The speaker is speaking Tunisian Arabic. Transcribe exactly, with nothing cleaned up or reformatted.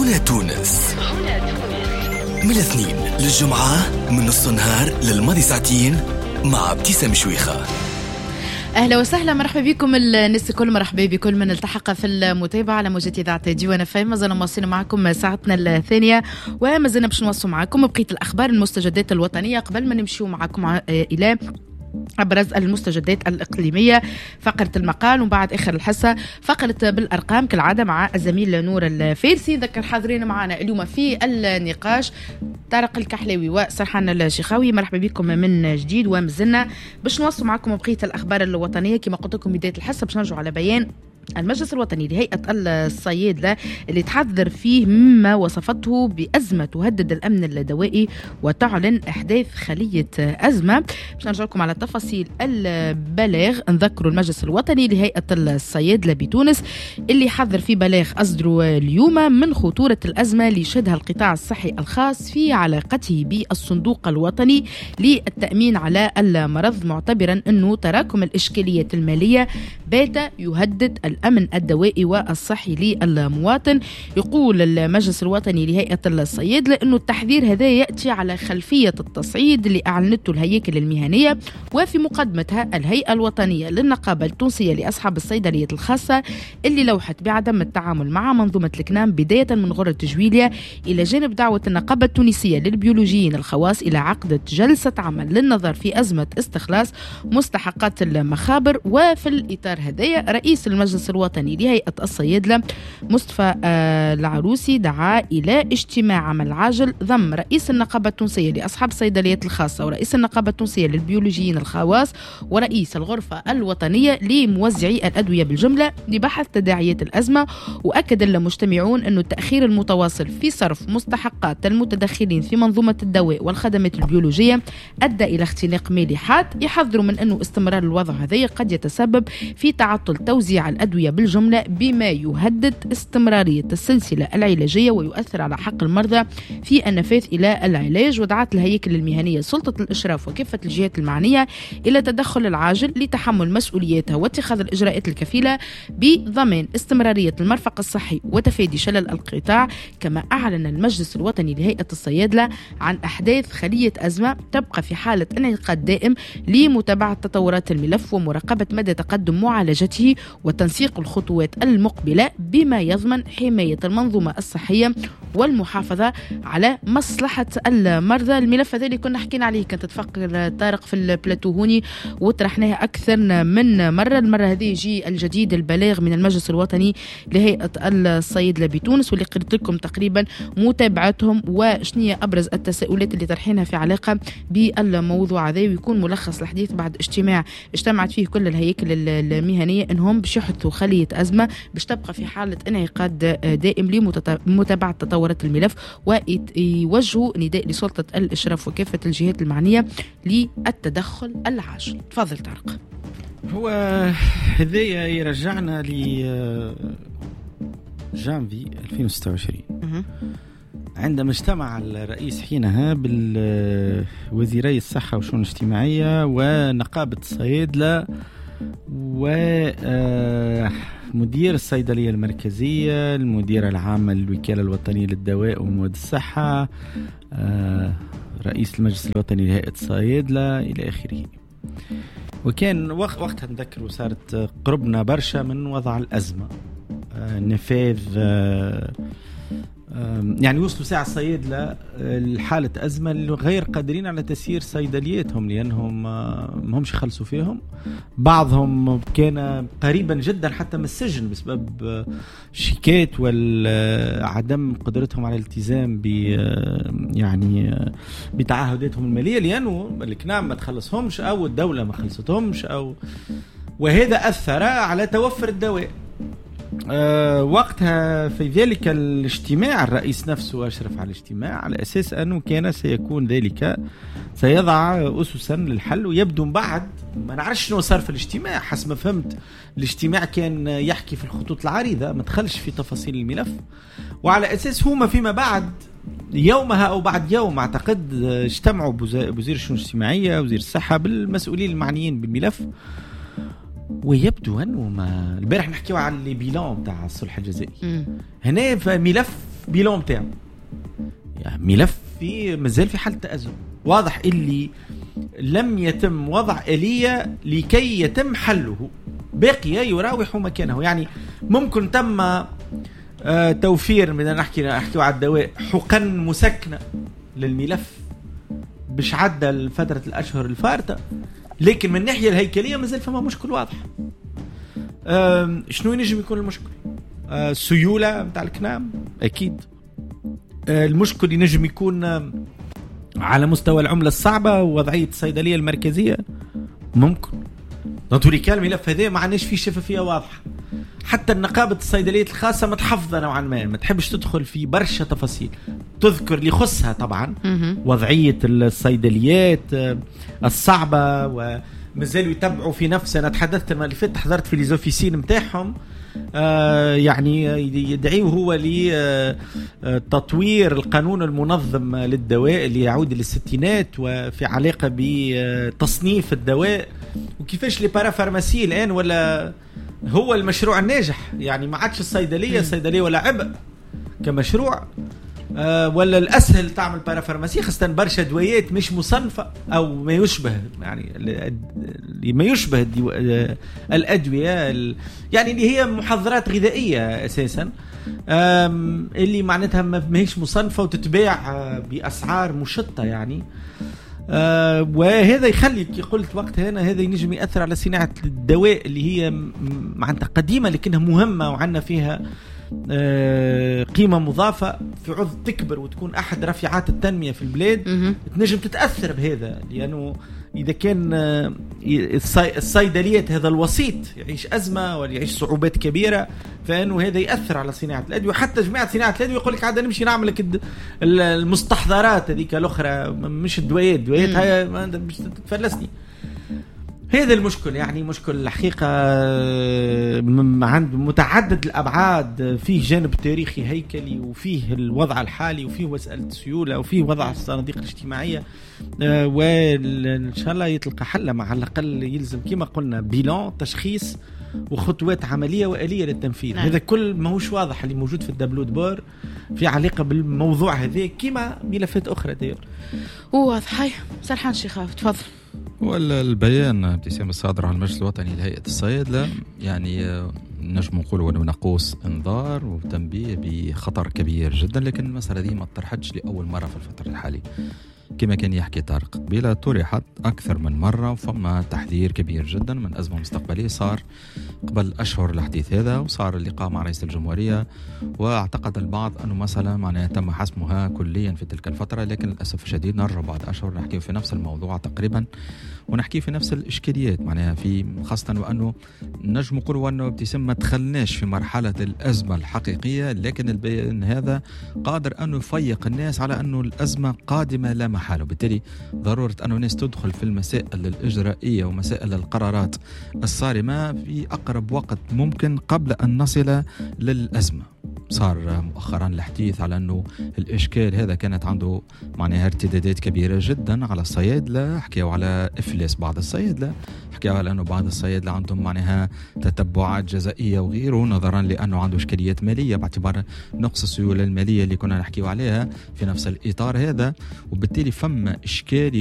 هنا تونس من الاثنين للجمعة من نص النهار للماضي ساعتين مع ابتسام شويخة. اهلا وسهلا، مرحبا بكم الناس الكل، مرحبا بكل من التحق في المتابعة على موجات اذاعة ديوان اف ام. مازلنا مواصلين معكم ساعتنا الثانية ومازلنا باش نواصلوا معكم بقية الاخبار المستجدات الوطنية قبل ما نمشيو معكم الى أبرز المستجدات الإقليمية، فقرة المقال، ومن بعد آخر الحصة فقرة بالأرقام كالعادة مع الزميل نور الفارسي. ذكر حاضرين معنا اليوم في النقاش طارق الكحلاوي وسرحان الشيخاوي، مرحبا بكم من جديد. ومازلنا باش نواصلوا معكم بقية الأخبار الوطنية كما قلت لكم بداية الحصة باش نرجعوا على بيان المجلس الوطني لهيئة الصيادلة اللي تحذر فيه مما وصفته بأزمة تهدد الأمن الدوائي وتعلن إحداث خلية أزمة. باش نرجع لكم على تفاصيل البلاغ، نذكروا المجلس الوطني لهيئة الصيادلة بتونس اللي حذر في بلاغ أصدره اليوم من خطورة الأزمة اللي شهدها القطاع الصحي الخاص في علاقته بالصندوق الوطني للتأمين على المرض، معتبرا أنه تراكم الإشكاليات المالية بات يهدد الأمن الدوائي والصحي للمواطن. يقول المجلس الوطني لهيئة الصيادلة أنه التحذير هذا يأتي على خلفية التصعيد اللي أعلنته الهياكل المهنية وفي مقدمتها الهيئة الوطنية للنقابة التونسية لأصحاب الصيدليات الخاصة اللي لوحت بعدم التعامل مع منظومة الكنام بداية من غرة جويليا، إلى جانب دعوة النقابة التونسية للبيولوجيين الخواص إلى عقد جلسة عمل للنظر في أزمة استخلاص مستحقات المخابر. وفي الإطار هذايا رئيس المجلس الوطني لهيئة الصيادلة مصطفى العروسي دعا إلى اجتماع عمل عاجل ضم رئيس النقابة التونسية لأصحاب الصيدليات الخاصة ورئيس النقابة التونسية للبيولوجيين الخواص ورئيس الغرفة الوطنية لموزعي الأدوية بالجملة لبحث تداعيات الأزمة. وأكد المجتمعون أن التأخير المتواصل في صرف مستحقات المتدخلين في منظومة الدواء والخدمات البيولوجية أدى إلى اختناق مالي حاد. يحذروا من أنه استمرار الوضع هذا قد يتسبب في تعطل توزيع الأدوية بالجملة بما يهدد استمرارية السلسلة العلاجية ويؤثر على حق المرضى في النفاذ إلى العلاج. ودعت الهياكل المهنية سلطة الإشراف وكافة الجهات المعنية إلى التدخل العاجل لتحمل مسؤولياتها واتخاذ الإجراءات الكفيلة بضمان استمرارية المرفق الصحي وتفادي شلل القطاع. كما أعلن المجلس الوطني لهيئة الصيادلة عن أحداث خلية أزمة تبقى في حالة انعقاد دائم لمتابعة تطورات الملف ومراقبة مدى تقدم معالجته وتنسيق الخطوات المقبلة بما يضمن حماية المنظومة الصحية والمحافظة على مصلحة المرضى. الملف هذا اللي كنا حكينا عليه كانت تتفق طارق في البلاتو هوني وطرحناه أكثر من مرة. المرة هذه يجي الجديد البلاغ من المجلس الوطني لهيئة الصيادلة بتونس واللي قلت لكم تقريبا متابعتهم وشنية أبرز التساؤلات اللي طرحينها في علاقة بالموضوع هذا، ويكون ملخص الحديث بعد اجتماع اجتمعت فيه كل الهياكل المهنية انهم باش يحطوا خلية أزمة باش تبقى في حالة انعقاد دائم لمتابعة تطورات الملف ويوجهوا نداء لسلطة الإشراف وكافة الجهات المعنية للتدخل العاجل. تفضل طارق. هو هذايا يرجعنا ل جانفي ألفين وستة وعشرين عندما اجتمع الرئيس حينها بالوزيري الصحة والشؤون الاجتماعية ونقابة الصيادلة ومدير الصيدلية المركزية، المديرة العامة للوكالة الوطنية للدواء ومواد الصحة، رئيس المجلس الوطني لهيئة الصيادلة إلى آخره. وكان وقتها نذكر وصارت قربنا برشا من وضع الأزمة، نفاذ، يعني وصلوا ساعة الصيادلة لحالة أزمة غير قادرين على تسيير صيدلياتهم لأنهم ما همش يخلصوا فيهم. بعضهم كان قريبا جدا حتى من السجن بسبب شيكات وعدم قدرتهم على الالتزام ب يعني بتعهداتهم المالية لأنه الكنام ما تخلصهمش أو الدولة ما خلصتهمش أو وهذا أثر على توفر الدواء. أه وقتها في ذلك الاجتماع الرئيس نفسه أشرف على الاجتماع على أساس أنه كان سيكون ذلك سيضع أسسا للحل. ويبدو بعد ما نعرفش شنو صار في الاجتماع، حسب ما فهمت الاجتماع كان يحكي في الخطوط العريضة ما دخلش في تفاصيل الملف، وعلى أساس هما فيما بعد يومها أو بعد يوم أعتقد اجتمعوا بوزير الشؤون الاجتماعية وزير الصحة بالمسؤولين المعنيين بالملف. ويبدو أنه ما البارح نحكيو على les bilans تاع الصلح الجزائي. هنا ملف bilan تاعو، يعني ملف في مازال في حالة تأزم. واضح اللي لم يتم وضع آلية لكي يتم حله، باقي يراوح مكانه. يعني ممكن تم آه توفير، من نحكي نحكي على الدواء، حقن مسكنة للملف باش عدى فترة الأشهر الفارطة، لكن من الناحية الهيكلية مازال فما مشكل واضح. آه شنو ينجم يكون المشكل؟ آه سيولة متاع الكنام أكيد. آه المشكل ينجم يكون آه على مستوى العملة الصعبة ووضعية الصيدلية المركزية ممكن. نطوريكا الملف هذا ما عندناش فيه شفافية واضحة. حتى النقابة الصيدليات الخاصة متحفظة نوعا ما، ما تحبش تدخل في برشا تفاصيل، تذكر اللي يخصها طبعا وضعية الصيدليات الصعبة، ومازالوا يتبعوا في نفس. أنا تحدثت المرة اللي فاتت، حضرت في les officines متاعهم، آه يعني يدعيه هو لتطوير القانون المنظم للدواء اللي يعود للستينات، وفي علاقة بتصنيف الدواء وكيفاش les parapharmacies الآن ولا هو المشروع الناجح. يعني ما عادش الصيدلية الصيدلية ولا عبء كمشروع، آه ولا الأسهل تعمل parapharmacie، خاصة برشا دوايات مش مصنفة أو ما يشبه، يعني اللي ما يشبه الأدوية، يعني اللي هي محضرات غذائية أساسا، اللي معناتها ما هيش مصنفة وتتباع بأسعار مشطة يعني. آه وهذا يخلي كي قلت وقت هنا هذا ينجم يأثر على صناعة الدواء اللي هي معناتها قديمة لكنها مهمة وعندنا فيها آه قيمة مضافة، في عوض تكبر وتكون أحد رافعات التنمية في البلاد تنجم تتأثر بهذا، لأنه إذا كان آه الصيدليات هذا الوسيط يعيش أزمة ولا يعيش صعوبات كبيرة، فإنه هذا يأثر على صناعة الأدوية. حتى جماعة صناعة الأدوية يقول لك عاد نمشي نعمل لك المستحضرات هذيك الأخرى، مش الدويات، الدويات هاي مش تتفلسني. هذا المشكل، يعني مشكل الحقيقة عند متعدد الأبعاد، فيه جانب تاريخي هيكلي، وفيه الوضع الحالي، وفيه مسألة السيولة، وفيه وضع الصناديق الاجتماعية، وإن شاء الله يتلقى حل. مع الأقل يلزم كما قلنا bilan، تشخيص، وخطوات عملية وآلية للتنفيذ. نعم. هذا كل ما هوش واضح اللي موجود في ال tableau de bord في علاقة بالموضوع هذا كما ملفات أخرى دير واضح. سرحان شيخاف تفضل. والبيان ابتسام الصادر على المجلس الوطني لهيئة الصيادلة يعني نجم نقول أنه ناقوس انذار وتنبيه بخطر كبير جدا، لكن المسألة دي ما طرحتش لأول مرة في الفترة الحالية كما كان يحكي طارق قبيلة، طرحت أكثر من مرة وفما تحذير كبير جدا من أزمة مستقبلية صار قبل أشهر الحديث هذا، وصار اللقاء مع رئيس الجمهورية، واعتقد البعض أنه مسألة معناها تم حسمها كليا في تلك الفترة، لكن للأسف الشديد نرجع بعد أشهر نحكي في نفس الموضوع تقريبا ونحكي في نفس الإشكاليات معناها في خاصة وأنه نجم نقول أنه ابتسام ما دخلناش في مرحلة الأزمة الحقيقية، لكن البيان هذا قادر أنه يفيق الناس على أنه الأزمة قادمة لا محالة، وبالتالي ضرورة أنه الناس تدخل في المسائل الإجرائية ومسائل القرارات الصارمة في أقرب وقت ممكن قبل أن نصل للأزمة. صار مؤخرا الحديث على أنه الإشكال هذا كانت عنده معناها ارتدادات كبيرة جدا على الصيادلة، حكيوا على إفلاس بعض الصيادلة، حكيوا على أنه بعض الصيادلة عندهم معناها تتبعات جزائية وغيره نظرا لأنه عنده إشكاليات مالية باعتبار نقص السيولة المالية اللي كنا نحكيوا عليها في نفس الإطار هذا، وبالتالي فما إشكال